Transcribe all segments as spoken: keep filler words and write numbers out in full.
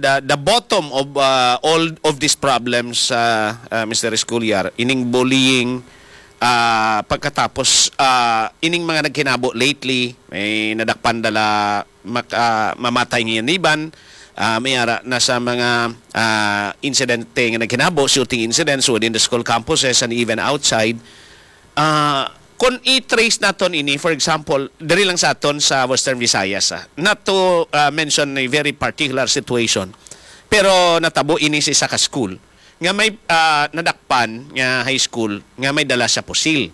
the, the bottom of, uh, all of these problems, uh, uh, Mister Escolar, ining bullying, uh, pagkatapos, uh, ining mga naghinabo lately, may nadakpan dala mak-, ah, mamatay nga yaniban, ah, may ara na sa mga, ah, insidente nga naghinabo, shooting incidents within the school campuses and even outside. Ah, kung i-trace naton ini, for example, diri lang sa aton sa Western Visayas, ah, not to, ah, mention a very particular situation, pero natabo ini sa isa ka school nga may, ah, nadakpan nga high school nga may dala sa pusil.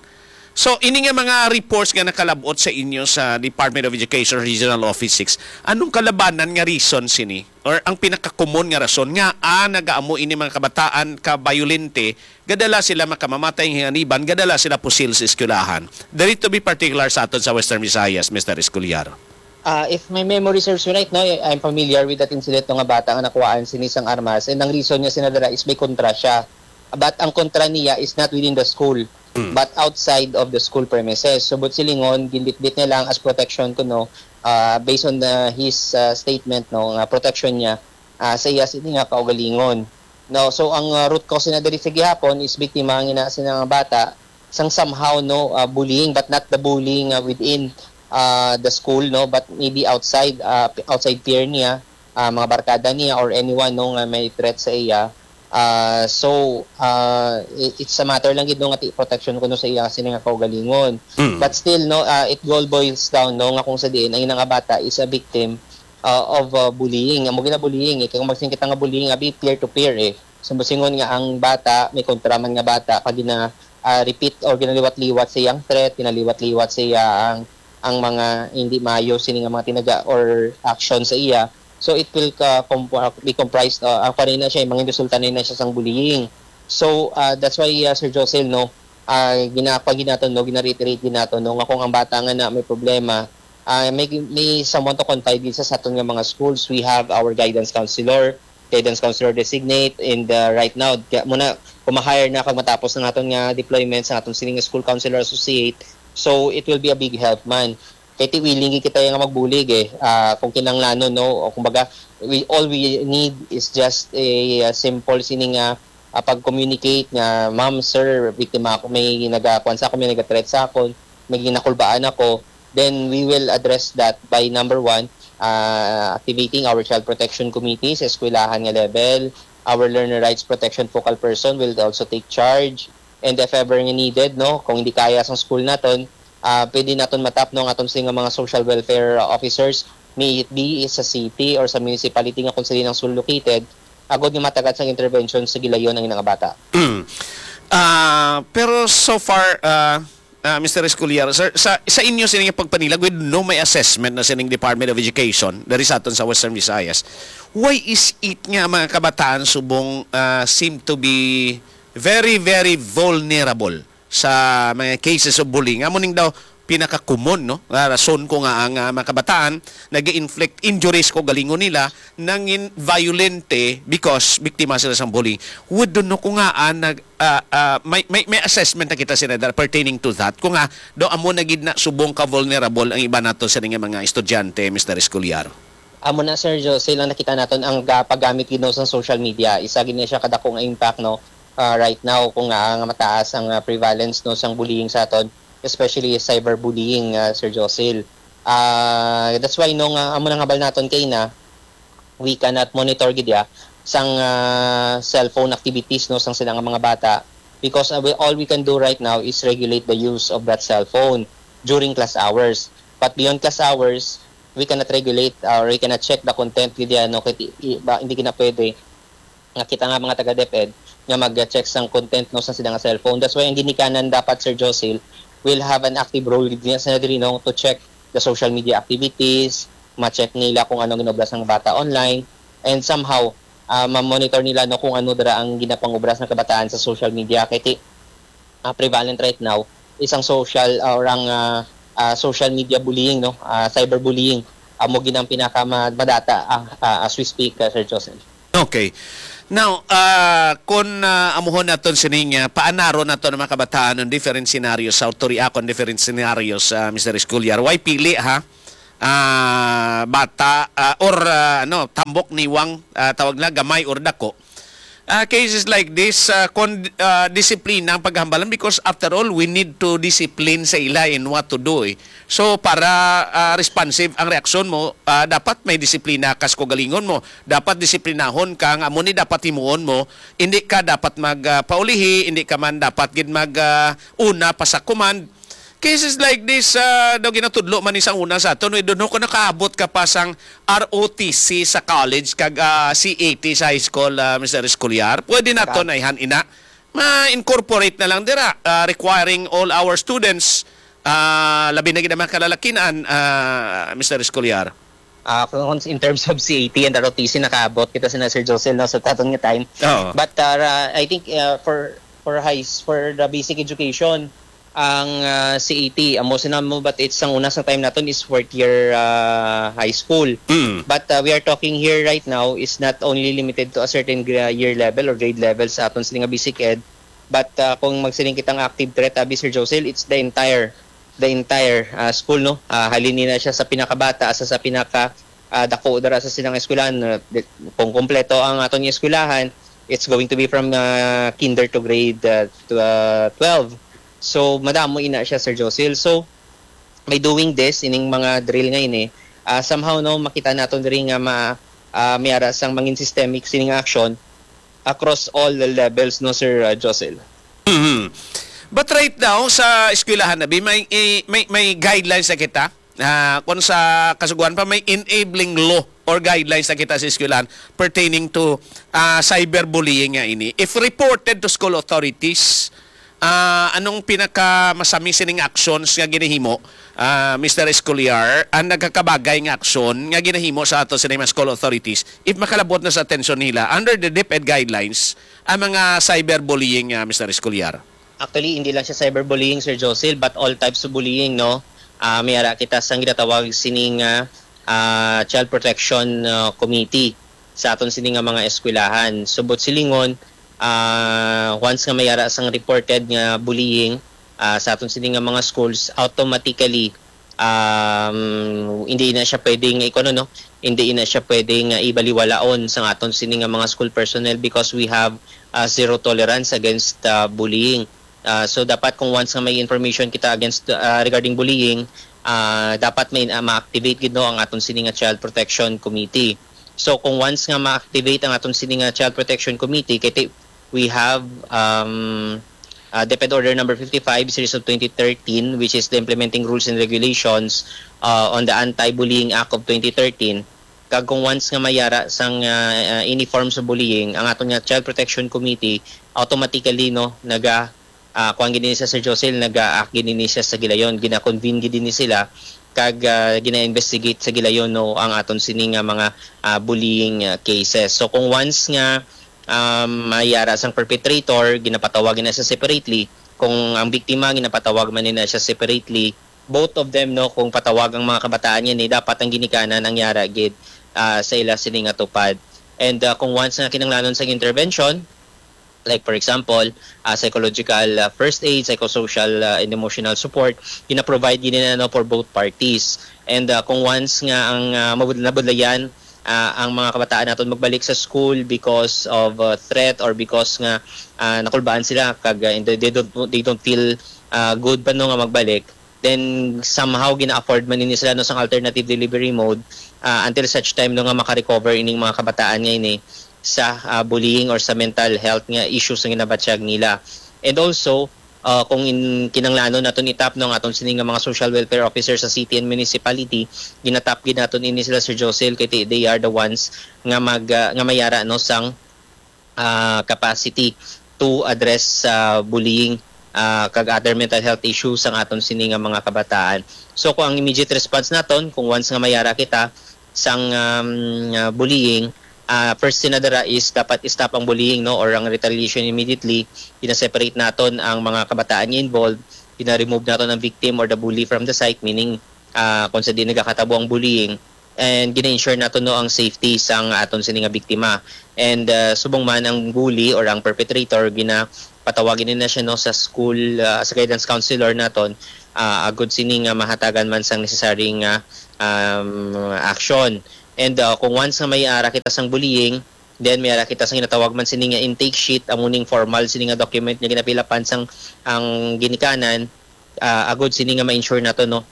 So, ini nga mga reports nga nakalab-ot sa inyo sa Department of Education Regional Office six, anong kalabanan nga reason sini? Or ang pinakakomon nga rason nga, ah, nagaamo ini mga kabataan ka bayolente, gadala sila makamamatay nga hiniban, gadala sila pusil sa eskwelahan. Diri, to be particular, sa aton sa Western Visayas, Mister Escolar. Ah, if my memory serves me right, no, I- I'm familiar with that incident, no, nga bata nga nakuhaan sini sang armas, and ang reason niya sina dira is may kontra siya. But ang kontra niya is not within the school, Mm. but outside of the school premises. So, but silingon, ginbitbit niya lang as protection ko, no, ah, based on the, his, ah, statement, no, nga protection niya, ah, sa iya sini nga kaugalingon. No, so ang, ah, root cause na diri sa gihapon is biktima ang ina sina nga bata sang somehow, no, ah, bullying, but not the bullying, ah, within, ah, the school, no, but maybe outside, ah, p- outside peer niya, ah, mga barkada niya or anyone, no, nga may threat sa iya. Ah, so, ah, i- it's a matter lang gid, no, nga ti protection kuno sa iya sini nga kaugalingon. Mm. But still, no, ah, it all boils down, no, nga kung sa diin ang ina nga bata is a victim, ah, of, ah, bullying. Amo gina bullying, eh. Kaya kung magsin kita nga bullying, abi peer to peer, eh. Sa musingon nga ang bata, may kontra man nga bata, kag gina, ah, repeat or ginaliwat-liwat sa iyang threat, ginaliwat-liwat sa iya ang, ang mga hindi maayo sini nga mga tinaga or action sa iya. So it will ka, comp- ah, be comprised, ah, ang panay na siya, mga resulta na na siya sang bullying. So, ah, that's why, ah, Sir Josel, no, ah, ginapag naton, no, ginareiterate din nato, no, nga kung ang bata nga na may problema, ah, may, may someone to confide din sa, sa aton nga mga schools. We have our guidance counselor, guidance counselor designate, and, uh, right now, kaya muna, kung ma-hire na kag matapos ang aton nga deployment sa aton sining school counselor associate, so it will be a big help man. Kay ti willing kita nga magbulig, eh. Ah, kung kinahanglanon, no, o kumbaga, we, all we need is just a, uh, simple sining, ah, ah, pag-communicate nga, "Ma'am, sir, biktima ako, may nagakuan sa ako, may nagathreat sa ako, may ginakulbaan ako." Then we will address that by, number one, ah, activating our child protection committee sa eskwelahan nga level. Our learner rights protection focal person will also take charge. And if ever nga needed, no, kung hindi kaya sang school naton, ah, pwede naton matap, no, ang aton sila nga mga social welfare officers, may it be sa city or sa municipality nga kung sila nang school located, agod nga matagad sang intervention sa gilayon ang ina nga bata. Ah, pero so far, ah, ah, Mister Escoliar, sir, sa, sa inyo sini nga pagpanilag, with no may assessment na sining Department of Education diri sa aton sa Western Visayas, why is it nga mga kabataan subong, ah, seem to be very, very vulnerable sa mga cases of bullying? Amo ning daw pinaka-common, no, nga rason ko nga ang, ah, mga kabataan nag-inflict injuries ko galingon nila, nangin violente because biktima sila sang bullying. Would, no, ko nga, ah, nag, ah, ah, may, may, may assessment na kita, Senator, pertaining to that. Kung nga, do amo na gid na subong ka vulnerable ang iba nato sa nga mga estudyante, Mister Escoliar. Amo na, Sir Jose, lang nakita naton ang ga-, paggamit gid, no, sa social media. Isa gid na siya kadako nga impact, no, ah, right now, kung nga, nga mataas ang, ah, prevalence, no, sang bullying sa aton, especially cyberbullying, ah, Sir Josil. Ah, that's why, no, nga amo nang habal naton kay na, we cannot monitor gid ya sang, ah, cellphone activities, no, sang sila nga mga bata, because, ah, we, all we can do right now is regulate the use of that cellphone during class hours. But beyond class hours, we cannot regulate or we cannot check the content gid ya, no, kay ti-, i-, ba, hindi gid na pwede nga kita nga mga taga DepEd nga mag-check sang content, no, sa sila nga cellphone. That's why ang ginikanan dapat, Sir Josil, will have an active role gid niya sa diri, no, to check the social media activities, ma-check nila kung ano ginobra sang bata online, and somehow, ah, ma-monitor nila, no, kung ano dira ang ginapangobra sa kabataan sa social media. Kay ti-, ah, prevalent right now is ang social, ah, or ang, ah, ah, social media bullying, no? Ah, cyberbullying. Amo gid ang pinaka ma-, madata, ah, ah, as we speak, ah, Sir Joseph. Okay. Now, ah, kung, ah, amuhon naton sining, ah, paanaron naton ang mga kabataan on different scenarios, how to react on different scenarios, ah, Mister Escoliar. Why pili, ha? ah, bata, ah, or, ah, ano, tambok, niwang, ah, tawag na, gamay or dako. Ah, cases like this, ah, kon, ah, disiplina ang paghambalan, because after all, we need to discipline sa ila in what to do, eh. So, para, ah, responsive ang reaksyon mo, ah, dapat may disiplina ka sa kaugalingon mo. Dapat disiplinahon ka, nga amo ni dapat himuon mo. Hindi ka dapat mag, ah, paulihi, hindi ka man dapat gid mag, ah, una pa sa command. Cases like this, ah, daw ginatudlo man ni sang una sa aton, we don't know kung nakaabot ka pa sang R O T C sa college kag, ah, C A T sa high school, ah, Mister Escolar. Pwede na to Naka- na ihan ina. Ma-incorporate na lang dira, ah, requiring all our students, ah, labi na gid ang mga kalalakinan, ah, Mister Escolar. Ah, kung in terms of C A T and R O T C, nakaabot kita sina Sir Josel, no, sa taton nga time. Oo. But, uh, I think, uh, for for high s- for the basic education, ang, uh, C A T, amo sina mo, but it's ang una sa time naton is fourth year, uh, high school. Mm. But, uh, we are talking here right now is not only limited to a certain gra- year level or grade level sa aton sini nga basic ed, but, uh, kung magsiling kitang active threat, abi, Sir Josel, it's the entire the entire, ah, school, no? Ah, halin ni na siya sa pinakabata sa, sa pinaka, ah, dako dira sa silang eskwelahan. Ah, di- kung kompleto ang aton nga eskwelahan, it's going to be from, ah, kinder to grade, ah, to, ah, twelve. So, madamo ina siya, Sir Josil. So, by doing this, ining mga drill nga ini, ah, somehow, no, makita naton diri nga ma, ah, may ara sang mangin systemic sining action across all the levels, no, Sir, ah, Josil? Mhm. But right now, sa eskwelahan, abi, may, i-, may, may guidelines na kita. Ah, kung sa kasuguan pa, may enabling law or guidelines na kita sa eskwelahan pertaining to, ah, cyberbullying nga ini. If reported to school authorities, ah, anong pinakamasami sining actions nga ginahimo, ah, Mister Escolar, ang nagakabagay nga aksyon nga ginahimo sa ato sining mga school authorities, if makalabot na sa atensyon nila under the DepEd guidelines, ang mga cyberbullying, ah, Mister Escolar? Actually, hindi lang siya cyberbullying, Sir Josil, but all types of bullying, no? Ah, may ara kita sang ginatawag sining, ah, ah, Child Protection, ah, Committee sa aton sini nga mga eskwelahan. Subot silingon, ah, once nga may ara sang reported nga bullying, ah, sa aton sini nga mga schools, automatically, um, hindi na siya pwedeng, ikuno, no? Hindi na siya pwedeng, ah, ibaliwalaon sa aton sini nga mga school personnel because we have, ah, zero tolerance against, ah, bullying. Ah, so, dapat kung once nga may information kita against, ah, regarding bullying, ah, dapat may, ah, ma-activate gid, no, ang aton sini nga Child Protection Committee. So, kung once nga ma-activate ang aton sini nga Child Protection Committee, kay ti-, we have, um, ah, DepEd Order number fifty-five, series of twenty thirteen, which is the implementing rules and regulations, ah, on the Anti-Bullying Act of twenty thirteen. Kag kung once nga mayara sang, ah, ah, any forms of bullying, ang aton nga Child Protection Committee automatically, no, naga, ah, kuwan gid ni siya, Sir Josil, naga-act gid ni siya sa gilayon, gina-convene gid ni sila, kag, ah, gina-investigate sa gilayon, no, ang aton sini nga mga, ah, bullying, ah, cases. So, kung once nga, um, mayara sang perpetrator, ginapatawag na siya separately. Kung ang biktima, ginapatawag man na siya separately. Both of them, no, kung patawag ang mga kabataan yan, eh, dapat ang ginikanan ang yara gid, ah, sa ila sini nga tupad. And, ah, kung once nga kinahanglanon sa intervention, like, for example, ah, psychological, ah, first aid, psychosocial, ah, and emotional support, gina-provide gid na, no, for both parties. And, ah, kung once nga ang, ah, mabud-, nabudlayan, ah, ang mga kabataan naton magbalik sa school because of, ah, threat or because nga, ah, nakulbaan sila kag, ah, they, they don't, they don't feel, ah, good pa, no, nga magbalik, then somehow gina-afford man nini sila, no, sang alternative delivery mode, ah, until such time, no, nga maka-recover ining mga kabataan nga ini sa, ah, bullying or sa mental health nga issues nga ginabatyag nila. And also, ah, kung in, kinanglanon naton itap, no, ang aton sini nga mga social welfare officer sa city and municipality, ginatap gid naton ini sila, Sir Josel, kay ti-, they are the ones nga mag, ah, nga mayara, no, sang, ah, capacity to address sa bullying, ah, kag other mental health issues sang aton sini nga mga kabataan. So, kung ang immediate response naton, kung once nga mayara kita sang, um, ah, bullying, ah, first thing na dira is dapat stop ang bullying, no, or ang retaliation immediately. Gina-separate naton ang mga kabataan nga involved, gina-remove naton ang victim or the bully from the site, meaning, ah, kung sa di nagakatabo ang bullying, and gina-ensure nato, no, ang safety sang aton sini nga biktima. And, ah, subong man ang bully or ang perpetrator, gina, patawagin na siya, no, sa school, ah, sa guidance counselor naton, ah, agud sini nga mahatagan man sang necessary nga, um, action. And, ah, kung once nga may ara kita sang bullying, then may ara kita sang ginatawag man sini nga intake sheet, amo ning formal sini nga document nga ginapilapan sang ang ginikanan, ah, agud sini nga ma-ensure nato, no,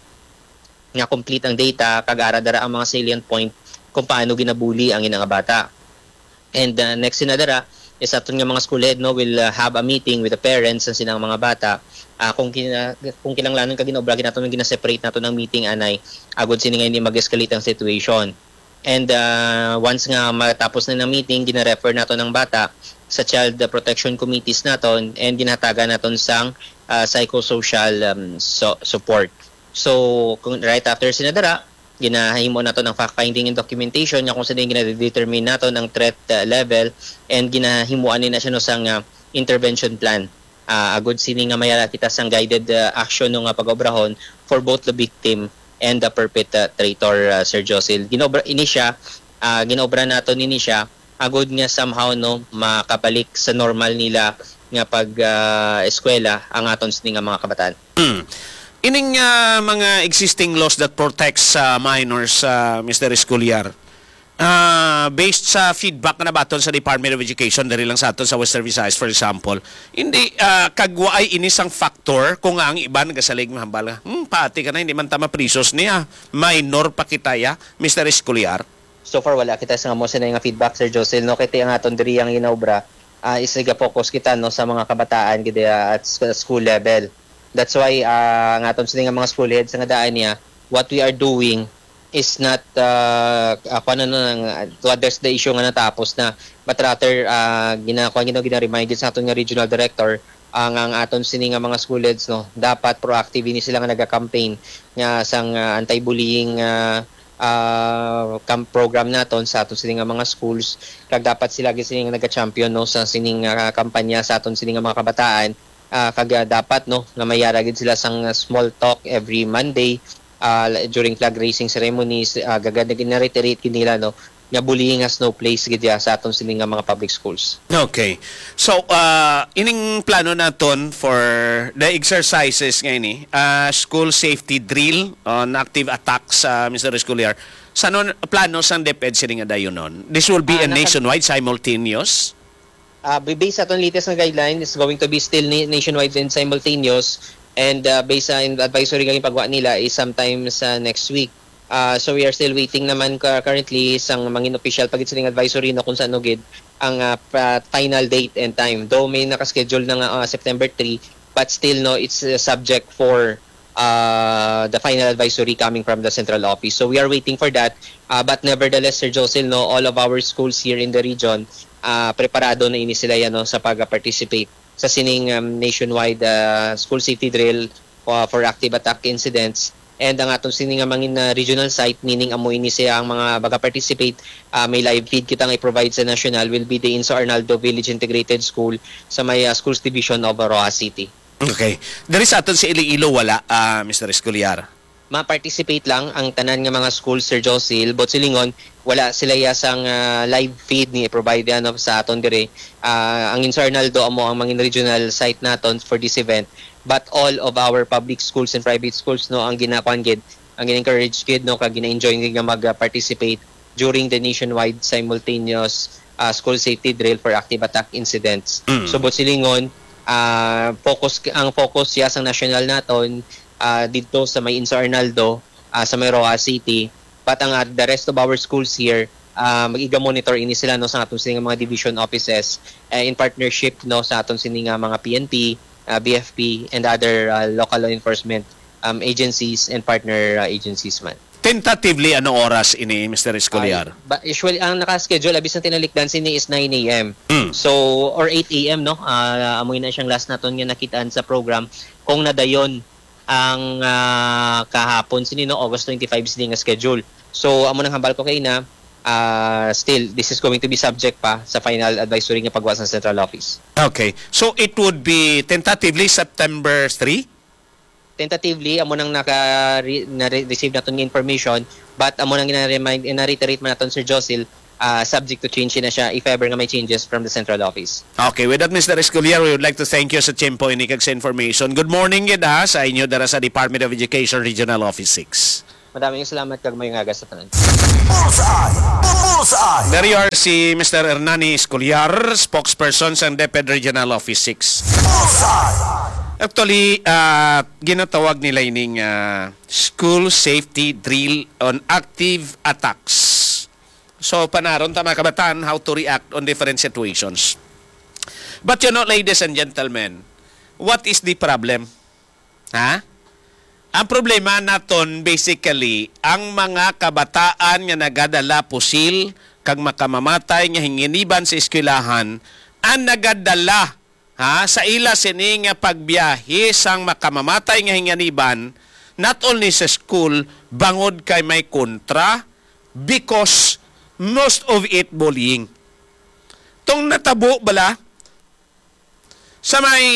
nga complete ang data kag ara dara ang mga salient point kung paano ginabuli ang ina nga bata. And, uh, next na dara is aton nga mga school head, no, will, uh, have a meeting with the parents sa silang mga bata. Ah, kung kina-, kung kinahanglanon kag ginaobra, ginato gina-separate nato ng meeting anay agud sini nga hindi mag-escalate ang situation. And, uh, once nga matapos na ng meeting, gina-refer nato ng bata sa child protection committees naton and ginahatagan naton sang, uh, psychosocial, um, so-, support. So, kung right after sina dara, ginahimo nato ng fact finding and documentation nga kung saan ginadetermine nato ang threat, uh, level, and ginahimuan ni na siya, no, sang, uh, intervention plan. Ah, agud sini nga mayara kita sang guided, uh, action, no, nga pag-obrahon for both the victim and the perpetrator, uh, Sir Josil. Ginobra ini siya, ah, ginobra nato nini siya agud nga somehow, no, makabalik sa normal nila nga pag, ah, eskwela ang aton sini nga mga kabataan. Hmm. Ining, ah, mga existing laws that protects, ah, minors, ah, Mister Escolar, ah, based sa feedback nga nabaton sa Department of Education, diri lang sa aton sa Western Visayas, for example, hindi, ah, kag waay ini sang factor kung ang iban nagasalig mahambal nga, "Hmm, pati ka na, hindi man ta maprisos niya. Minor pa kita ya, Mister Escolar." So far, wala kita sa amo sina nga feedback, Sir Josil, no? Kay ti ang aton diri ang ginaobra, ah, is nagapokus kita, no, sa mga kabataan gid, ah, at sa school level. That's why, ah, ang aton sini nga mga school heads nga daan niya, what we are doing is not, ah, ah, kuwan na lang, ah, to address the issue nga natapos na, but rather, ah, gina-, kuwan, gina-, gina-remind gid sa aton nga regional director, ah, nga ang aton sini nga mga school heads, no, dapat proactive ini sila nga naga-campaign nga sang, ah, anti-bullying, ah, ah, cam-, program naton sa aton sini nga mga schools, kag dapat sila gid sini nga naga-champion, no, sa sining, ah, kampanya sa aton sini nga mga kabataan, ah, kag, ah, dapat, no, nga mayara gid sila sang, ah, small talk every Monday, ah, la-, during flag raising ceremonies, ah, gaga-, gina-reiterate gid nila, no, nga bullying has no place gid ya sa aton sini nga mga public schools. Okay. So, ah, ining plano naton for the exercises nga ini, ah, school safety drill on active attacks, ah, Mister Escolar, sa nun, plano sang DepEd sini nga dayonon? This will be Ah, a naka- nationwide, simultaneous? Ah, ba-, based sa aton latest nga guideline, is going to be still na-, nationwide and simultaneous. And, ah, based sa in-, advisory nga ginpagwa nila is sometime sa next week. Ah, so we are still waiting naman ka-, currently sang mangin official pa gid sining advisory, no, kung saan gid ang, ah, pa-, final date and time. Though may nakaschedule na nga, ah, September three, but still, no, it's, uh, subject for, uh, the final advisory coming from the central office. So we are waiting for that. Uh, but nevertheless, Sir Josil, no, all of our schools here in the region, uh, preparado na ini sila yan, no, sa pag-participate sa sining, um, nationwide, uh, school safety drill, uh, for active attack incidents. And ang aton sini nga mangin, uh, regional site, meaning amo ini siya ang mga maga-participate, uh, may live feed kita nga i-provide sa national, will be the Inso Arnaldo Village Integrated School sa may, uh, Schools Division of Roxas City. Okay. Diri sa aton sa Iloilo, wala, ah, Mister Escolar? Ma-participate lang ang tanan nga mga school, Sir Josil, but silingon, wala sila ya sang, ah, live feed ni provide, ano, sa aton dire. Ah, ang Inso Arnaldo amo ang mangin regional site naton for this event. But all of our public schools and private schools, no, ang ginakuan gid, ang gina-encourage gid, no, kag gina-enjoy gid nga mag-participate during the nationwide simultaneous, ah, school safety drill for active attack incidents. Mm. So, but silingon, ah, focus, ang focus siya sa national naton, ah, dito sa may Inso Arnaldo, ah, sa may Roxas City. But ang, ah, the rest of our schools here, ah, mag-iga-monitor ini sila, no, sa aton sini nga mga division offices, eh, in partnership, no, sa aton sini nga mga P N P, ah, B F P, and other, ah, local law enforcement, um, agencies and partner, ah, agencies man. Tentatively, ano oras ini, Mister Escolar? Ay, ba, usually, ang naka-schedule, abis ang tinalikdan sini is nine A M. Mm. So, or eight A M, no? Ah, amoy na siyang last naton nga nakitaan sa program. Kung nadayon ang, ah, kahapon sini, no, August twenty-five sini nga schedule. So, amo nang hambal ko kay na, ah, still, this is going to be subject pa sa final advisory nga pagwa sa central office. Okay. So, it would be tentatively September three? Tentatively, amo nang naka-, re-, na-re-, receive naton nga information, but amo nang gina-remind, na-reiterate man naton, Sir Josil, Ah, subject to change na siya if ever nga may changes from the central office. Okay, with that, Mister Escoliar, we would like to thank you sa tiyempo ini kag sa information. Good morning gid ha sa inyo dara sa Department of Education Regional Office six. Maraming salamat kag may nga sa tanan. Bullseye! Bullseye! There you are, si Mister Hernani Escoliar, spokesperson sa DepEd Regional Office six. Bullseye! Actually, ah, ginatawag nila ining ah, school safety drill on active attacks. So, panaron ta, mga kabataan, how to react on different situations. But you know, ladies and gentlemen, what is the problem? Ha? Ang problema naton, basically, ang mga kabataan nga nagadala pusil kag makamamatay nga hinganiban sa eskwelahan, ang nagadala, ha, sa ila sini nga pagbiyahe sang makamamatay nga hinganiban, not only sa school, bangod kay may kontra, because most of it bullying. Tong natabo bala sa may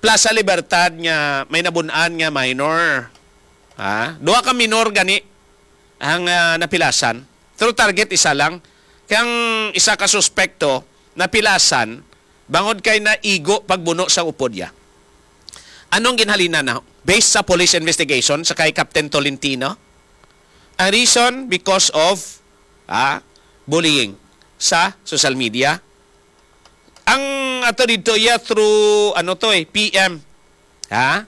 Plaza Libertad nga may nabun-an nga minor. Ha? Duha ka minor gani ang ah, napilasan. Through target, isa lang. Kay ang isa ka suspekto napilasan bangod kay naigo pagbuno sa upod niya. Anong ginhalinan na? Based sa police investigation sa kay Captain Tolentino, ang reason because of ah, bullying sa social media. Ang ato dito iya through ano to eh, P M. Ha?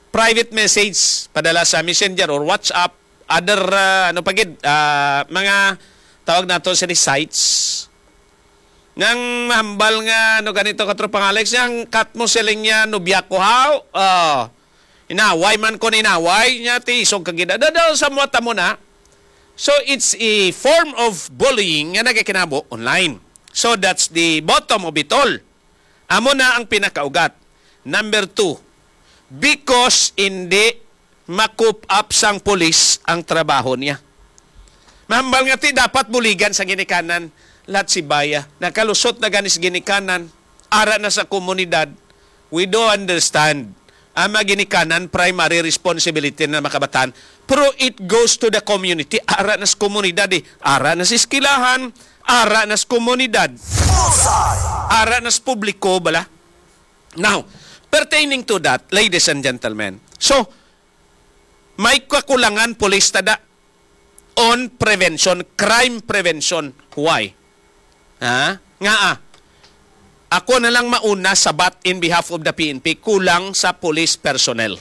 Private message padala sa Messenger or WhatsApp, other ah, ano pa gid, ah, mga tawag nato sa sites. Nang mahambal nga ano ganito, Katropang Alex, nga ang kat mo siling niya nubya ko, how? Oh. Inaway man ko, inaway niya, ti isog ka gid. Daw sa mo tamo na. So it's a form of bullying nga nagakinabo online. So that's the bottom of it all. Amo na ang pinakaugat. Number two, because hindi ma-coop up sang pulis ang trabaho niya. Mahambal nga ti dapat buligan sa ginikanan, lahat si baya. Nakalusot na ganis ginikanan, ara na sa komunidad. We do understand. Ang mga ginikanan, primary responsibility na makabatan. Pero it goes to the community. Ara na sa komunidad eh. Ara na sa eskwelahan, ara na sa komunidad. Ara na sa publiko, bala. Now, pertaining to that, ladies and gentlemen, so, may kakulangan pulis tada on prevention, crime prevention. Why? Ha? Nga ah, ako na lang mauna sabat in behalf of the P N P, kulang sa police personnel.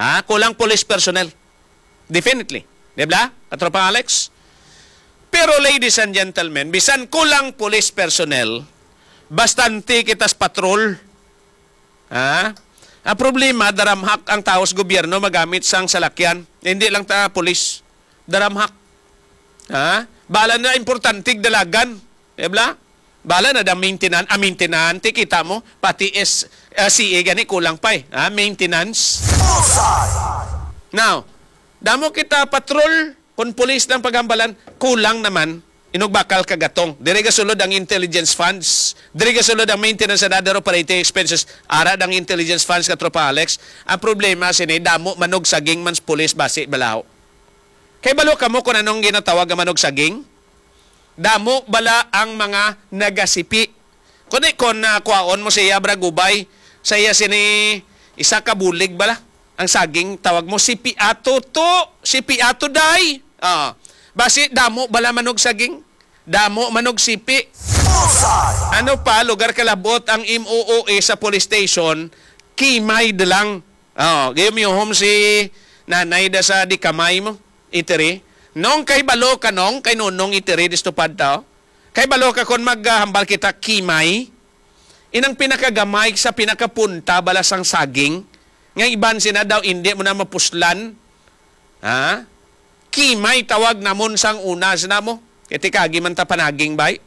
Ha? Kulang police personnel. Definitely. Di ba? Katropang Alex? Pero ladies and gentlemen, bisan kulang police personnel, bastante kita sa patrol. Ha? Ang problema, daramhak ang tao sa gobyerno magamit sang salakyan. Hindi lang ta pulis. Daramhak. Ha? Bala na importante dalagan. Di ba? Bala na dang maintenance, ah, maintenance, kita mo, pati is, ah, C A gani kulang pa eh. Ha? Maintenance. Now, damo kita patrol, kung pulis lang paghambalan, kulang naman. Inugbakal ka gatong. Diri gasulod ang intelligence funds. Diri gasulod ang maintenance and other operating expenses. Ara ang intelligence funds, Katropa Alex. Ang problema sini, damo manog saging man sa pulis basi balaho. Kay balo kamo kung anong ginatawag nga manog saging? Damo bala ang mga nagasipi. Kundi kung ah, kuhaon mo sa iya, bra, gubay, sa iya sini isa ka bulig bala. Ang saging, tawag mo, sipi ato to, sipi ato day. Ah, basi damo bala manog saging? Damo manog sipi. Ano pa, lugar kalabot ang M O O A sa police station, kimay da lang. Oh, gayom yuhom si nanay da sa di kamay mo, itiri. Nong kay balo ka nong, kay nonong itiri disto padto. Kay balo ka kon maghambal kita kimay, inang pinakagamay sa pinakapunta bala sang saging, nga iban sina daw indi mo na mapuslan. Ha? Kimay tawag namon sang una sina mo. Kay tikagi man ta panaging bay.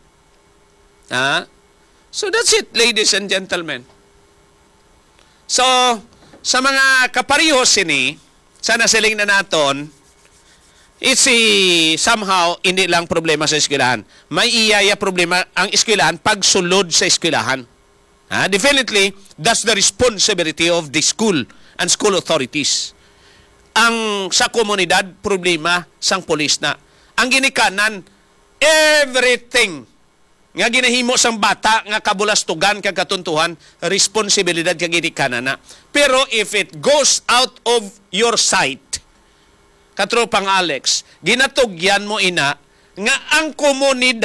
Ha? So that's it, ladies and gentlemen. So, sa mga kapareho sini, sa nasiling na naton, it's a, somehow, hindi lang problema sa eskwelahan. May iya, iya problema ang eskwelahan pagsulod sa eskwelahan. Ha? Definitely, that's the responsibility of the school and school authorities. Ang sa komunidad, problema sang pulis na. Ang ginikanan, Everything nga ginahimo sang bata nga kabulastugan kag katuntuhan, responsibilidad kag ginikanan na. Pero if it goes out of your sight, katropang Alex, ginatugyan mo ina nga ang komunidad